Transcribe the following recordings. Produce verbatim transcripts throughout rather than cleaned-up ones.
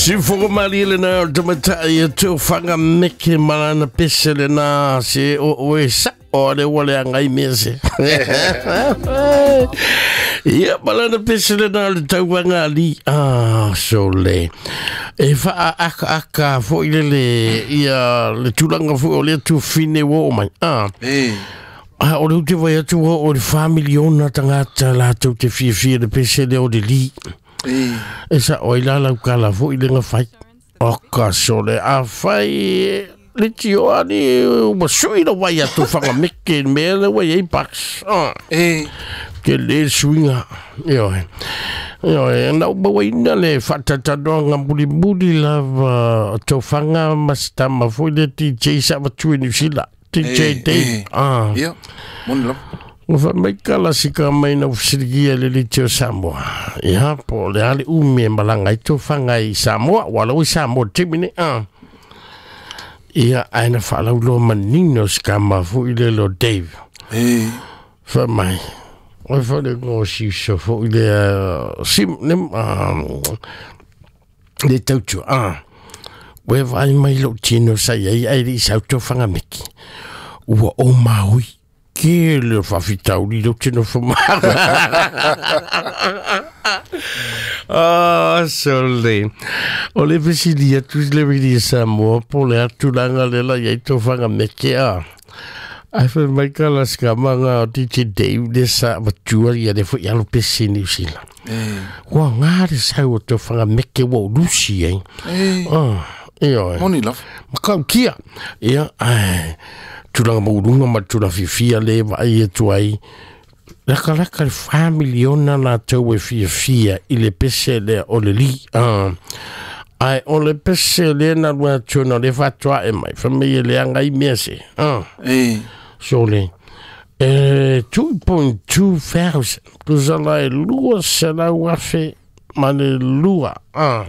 Sifogo mali le na o tamatai e tō whangameke malana pese le na se o oe sa o le wale angai mea se. Ia malana pese le na le tauanga li. Ah, so le. E wha aka aka fo i lele ia le tūlanga fo o le tū whine wo o mai. Ah. E. Ah, o le ute vai atu o le wha miliona tangata lātou te whiawhia le pese le o le li. E sa oi la lau kala fo i lenga whai. O ka sole a whai le tio ani ua sui la wai atu whangameke mea le wai ei bucks. E. Ke le suinga. Ioe. Ioe, na umawa ina le whatatanoa ngā muli muli lava tō whanga masitama fo i le D J sa watu e New Zealand. D J Dave. Ah. Ia, moni lava. Ua mai kala sika mai na ufisiligia le li teo Samoa. Ia, po le ale umi e malanga i tō whanga i Samoa, wala ui Samoa timine. Ah. Ia, aina whalauloa manino sika mafu i le lo Dave. E. Wha mai. Oi whale ngō siuso fo i le sim, nem, le tautua. Ah. Ue vai mai lo tino sa iai ai li sau tō whangameki. Ua o maui. Ke le whawhitauri lo tino whamara. Ah, sole. O le whesilia tu le wili Samoa po le atulanga le la iai tō whangameke a. Ai whai mai ka la skamanga o D J Dave le sa watua ia le fo i alo pese New Zealand. Ua ngā le sau o tō whangameke wa o Lucy eh. E. Ah, ioe. Moni love. Makau kia. Ia, ai. Tūlanga maurunga ma tūla whiwhia le vai e tuai. Laka laka le wha miliona nā tau e whiawhia i le pese le o le li. Ah. Ai, o le pese le na rua tūna le whatua e mai. Whamei e le anga i mea se. Ah. E. So le. E, two point two thousand. Kusala e lua se lau afe ma le lua. Ah.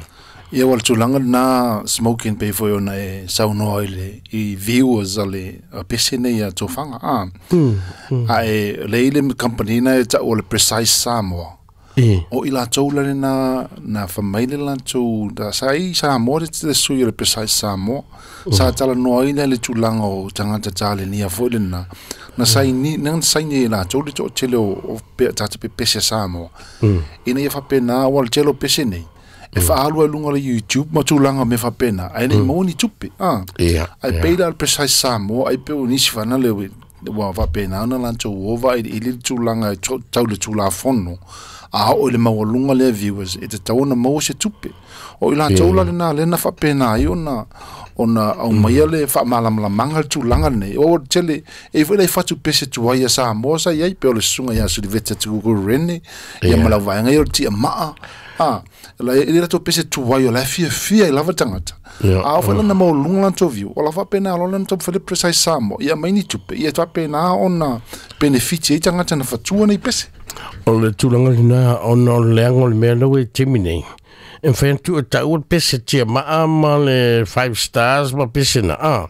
Ia wal tūlanga nā smoking pe foi ona e saunoa i le i viewers a le a pese nei a tō whanga. Ah. Mm, mm. A e le ile company na e tau o le Precise Samoa. E. O i la tau lare na, na whamaile la tau, da sa i Samoa le te sui o le Precise Samoa. Sa tala noa i le tūlanga o tangata tale ni a foi le na. Na sai ni, na sai ni la tau le tau tele o, o pe, tata pe pese Samoa. Mm. Ina ia whapena wal tele o pese nei. E whaalua e lunga le YouTube ma tūlanga me whapena. Ai nei mauni tupe. Ah. Ia, Ai ia. peira al Precise Samoa, ai peo nisi whana le we, wa whapena ana lan tau ova i i le tūlanga e tau tau le tūla fono. A o le maua lunga le viewers, e te tau ona maua se tupe. O i la tau la le nā le na whapena ai ona, ona au maia le whaamalamalanga le tūlanga nei. O tele, e fwe le whatu pese tuai a Samoa sa iai, peo le sunga ia Suliveta Tukukuru Rene, ia Ia. malau vaenga ia o tia maa. Ah, la e le rato pese tuai o la fia fia i lava tangata. Ia, A o whaela na mau lunga lan tō view. O la whapena alo lan tō whale Precise Samoa. Ia mai ni tupe. Ia whapena ona benefiti e tangata na whatua nei pese. O le tūlanga lina ona o le anga o le mea lau e timi nei. E whaentu e tau o pese tia maa ma le five stars ma pese na. Ah,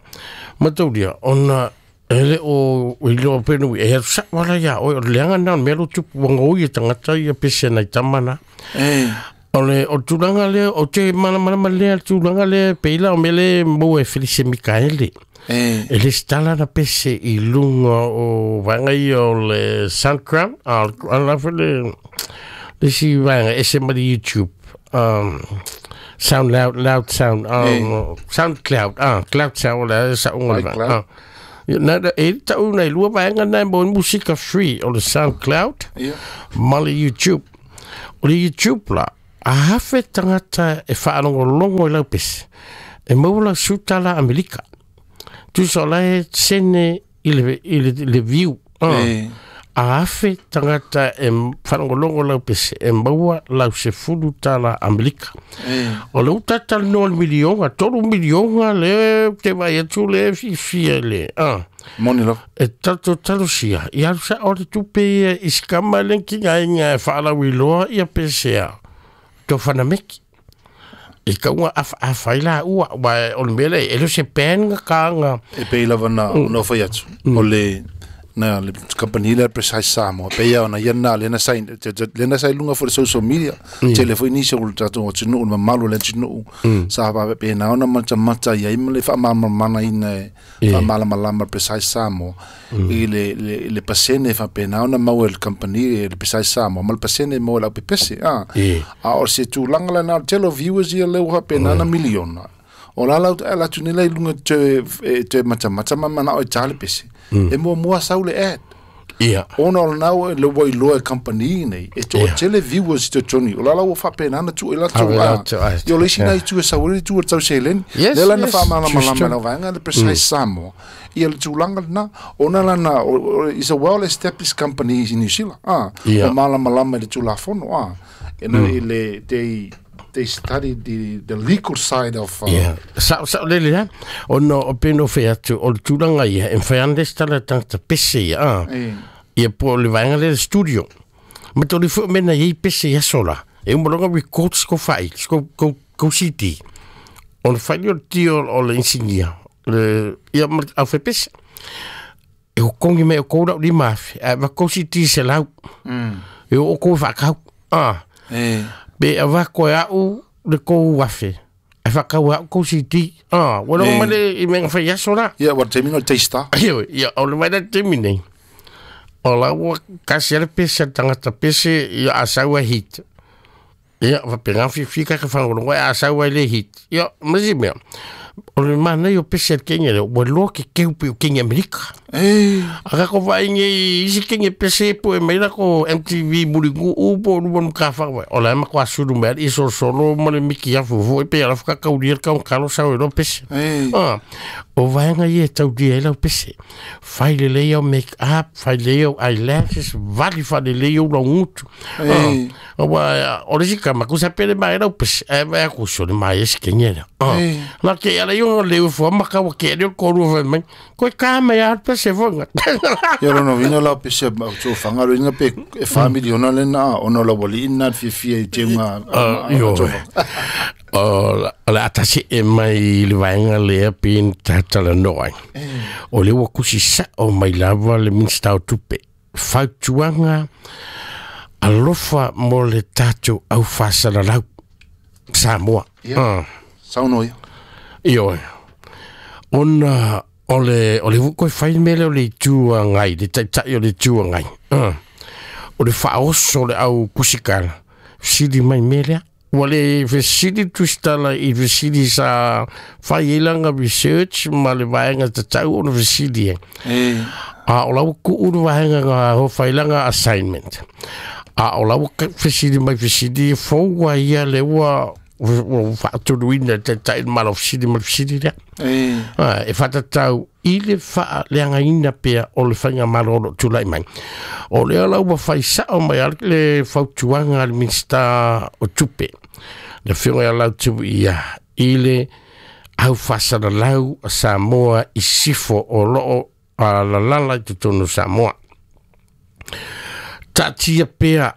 ma tauria, ona ele o iloa penu e hea sa wala ia o le anga na mea lo tupu wanga oi e tangata ia pese na i tamana. E. O le o tūlanga le o te mana mana ma le tūlanga le peila o mele mo e Felice Mikaele. E. E le stala na pese i lunga o wanga i o le SoundCloud, a a la le le si wanga e se mari YouTube. Um, sound loud, loud sound, um, E. SoundCloud, ah, cloud sound, la sa unga iCloud. Ah. Na e tau nei lua vaenga nei mo musika free o le SoundCloud. Ia. Ma le YouTube. O le YouTube la, a hafe tangata e whaalongolongo i lau pese. E maua lau sutala Amerika. Tusa o la e sene i le, i le, le view. Ah. E. A hafe tangata e whaalongolongo lau pese. E maua lau se fulu tala Amerika. E. O le utata no le milionga, tolu milionga le te vai atu le fifi le. Ah. Moni lava. E tato talosia, i alu sa o le tupe ia i skama lenki ngai ngai whaalawiloa ia pesea. Tō whanameki. I kaunga afa afa i la ua, wa o le mele, e lo se pen nga kānga. E pei lava na, no whai atu. O le Na le company le Precise Samoa pe ia ona ia na le na sai le na sai lunga for social media tele foi ni so tatou o tinu ma malu le tinu sa ba pe na ona mata mata ia i le fa ma mana ina fa mala mala Precise Samoa i le le le pasene fa pe na ona mau el company le Precise Samoa mal pasene mo la pepese a a o se tulaga la na tele viewers ia le wa pe na na miliona o la la la tunela i lunga te te mata mata mana o tale pese e mo mo sa le ad ia ona o nau le wai loa company nei e to tele viewers to Johnny o la la o fa pe na tu ela tu a yo le sina tu sa o tu tau selen le la na fa mana mana mana vanga le Precise Samoa ia le tulaga na ona la na is a well established company in New Zealand ah o mala malama le tulafono ah e le they they study the the legal side of uh, yeah sa sa le le ono o peno fe atu o tulaga ia e fai ande stala tanta pese ia ah ia po le vaega le studio ma to le fo mena ia pese ia sola e mo longa record sko fai sko ko ko C D on fai o tio o le insignia le ia a fe pese e o kongi me o ko li mafi a va ko C D se lau e o ko va ka ah eh be a va ko au le ko wafe a va ka wa ko C D ah wala ma le i menga fa yasola ia wa terminal testa ia ia o le vai termine o la wa ka se le pese tangata pese ia a sa wa hit ia va pe nga fi fi ka ka fa ngo a sa wa le hit ia mas me o le mana yo pese kenya le wa lo ke ke pe kenya Amerika eh aga ko vai ngi isi kenya pese po e mera ko M T V muringu u po lu ka fa wa o la ma kwa suru mer iso solo mo le miki ya fu e pe ala ka ka ulir ka un kalo sa o pese ah o vai nga ye tau di ela pese fai le le yo make up fai le yo eyelashes vali fa le le yo lo ngutu ah wa o le sika ma ku sa pele ma ela pese e va ku so le ma es kenya ah la ke ala yo le fo ma ka wa ke le ko ru fa mai ko ka ma ya pese fo nga yo no vino la pese to fanga lo inga pe family ona le na ona la wali ina fi fi e tenga yo o la atasi e mai le vaenga le pin tatala noa o le wa kusi sa o mai lava le minsta o tupe fautuanga alofa mo le tatou au fasalalau Samoa ah sauno ia io ona o le o le ko fai mele o le tua ngai le taitai o le tua ngai ah o le faoso le au kusikala sili mai mele wale vesili tustala i vesili sa fai elanga research ma le vaenga tatau ona vesili e a o lau ku uru vaenga nga ho failanga assignment a o lau vesili mai vesili fōua ia le ua o faatuluina taitai malo vesili ma vesili lea e fatatau i le faaleagaina pea o le faiga malo o loo tulai mai o lea lau ua faisao mai ale le fautuaga a le Minista o Tupe le afioga ia Lautu ia i le aufasalalau a Samoa i sifo o loo alalala i totonu o Samoa taatia pea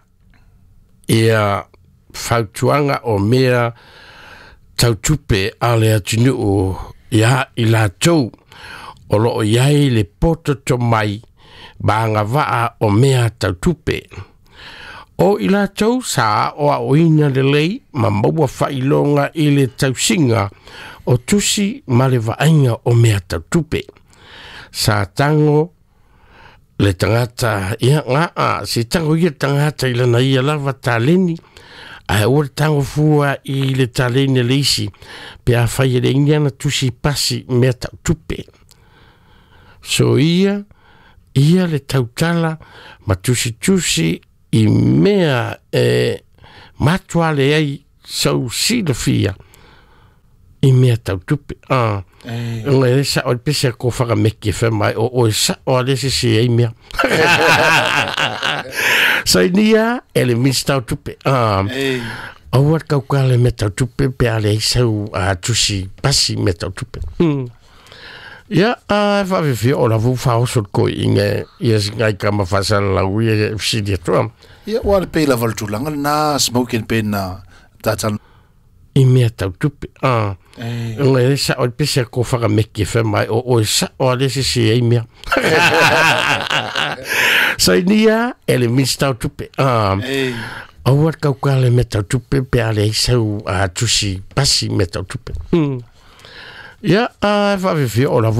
ia fautuaga o mea tautupe a le atunuu ia i latou o loo iai le poto mai ma agavaa o mea tautupe o i latou sa o aoina lelei ma maua faailoga i le tausiga o tusi ma le vaaiga o mea tautupe sa tago le tagata ia gaa se tago ia tagata i lana ia lava taleni ae ua le tago fua i le taleni le isi pe afai e le igi ana tusi pasi mea tautupe so ia ia le tautala ma tusitusi i mea e matua le ai sau silafia i mea tautupe ah ngai sa o pese ko whaka meke wha mai o o sa o ale se se ei mea sa inia e le minsta o tupe ah o wat kau kale mea tautupe pe ale sau a tusi pasi mea tautupe ia a whawhiwhi o la vu whaoso ko inga ia ngai ka mawhasala lau ia fsidi atoa ia wa le pe la valtulanga na smoking pe na tatan I mea tau tupe. Ah. Ei. Ona e sa o pese ko whaka meke wha mai o o sa o ale se se ei mea. Sainia e le minista o tupe. Ah. Ei. Aua kau ka le mea tau tupe pe ale i sau a tusi pasi mea tau tupe. Mm. Ia, a whaawhiwhi o lavu.